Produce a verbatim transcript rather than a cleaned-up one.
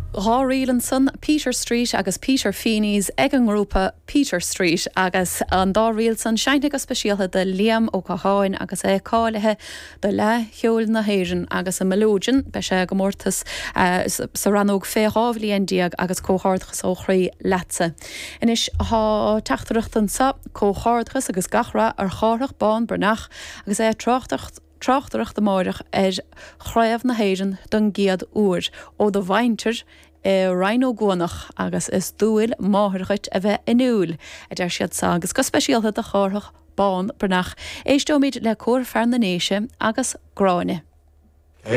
Dhá ríl ansan Peter Street agus Peter Feeney's ag an ngrúpa Peter Street agus an dá ríl san seinnte go speisialta do Liam Ó Catháin agus é cáilithe do Fhleadh Cheoil na hÉireann agus i Melódion beidh sé i gcomórtas uh, sa rannóg fé dhá bhliain déag agus comhghairdeachas ó chroí leatsa. Anois tá teachtaireacht anseo comhghairdeachas agus gach rath ar Chárthach Bán Breathnach agus é ag tráchtaireacht tráchtaireacht amárach ar Chraobh na hÉireann don gcéad uair ó do mhuintir i Rinn Ó gCuanach agus is dual máthair dhuit a bheith inniúil a deir siad sa agus go speisialta do Chárthach Bán Breathnach. Éisteoimid le Cór Fear na nDéise agus Gráinne.